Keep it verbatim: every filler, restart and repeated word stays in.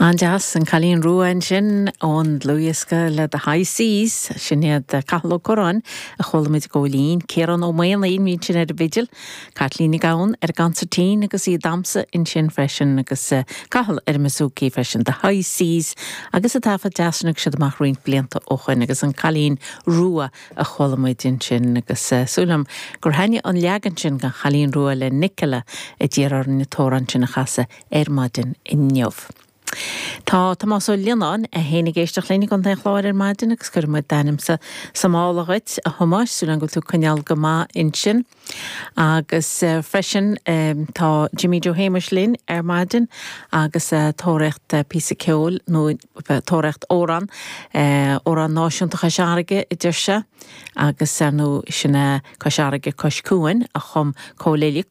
An-deas an Cailín Rua ansin ón dlúthdhiosca le The High Seas sin iad Cathal Ó Curráin a chuala muid gcóilín, Ciarán Ó Maonaigh bhí sin ar an bhfidil, Caitlín Nic Gabhann ar an gconsairtín agus í damsa ansin freisin agus Cathal ar an mbouzouki freisin The High Seas agus a taifead deas sin siad amach roinnt blianta ó shin agus an Cailín Rua a chuala muid ansin agus súil agam gur thaitnigh an leagan sin den Chailín Rua le Nicola a d'iarr orainn an t-amhrán sin a chasadh ar maidin inniu. Tá Tomás Ó Lionáin a théann ag éisteacht linn i gContae an Chláir ar maidin agus cuirimid d'ainmse sa mála dhuit a Thomáis súil agam go bhfuil tú coinneáil go maith ansin. Agus uh, freisin um, tá Jimmy Joe Shéamuis linn ar maidin agus uh, tóraíocht uh, píosa ceoil nó uh, tóraíocht amhrán uh, amhrán náisiúnta Chois Fharraige a deir sé agus nó sin Cois Fharraige Cois Cuain a chum Cóil Elliott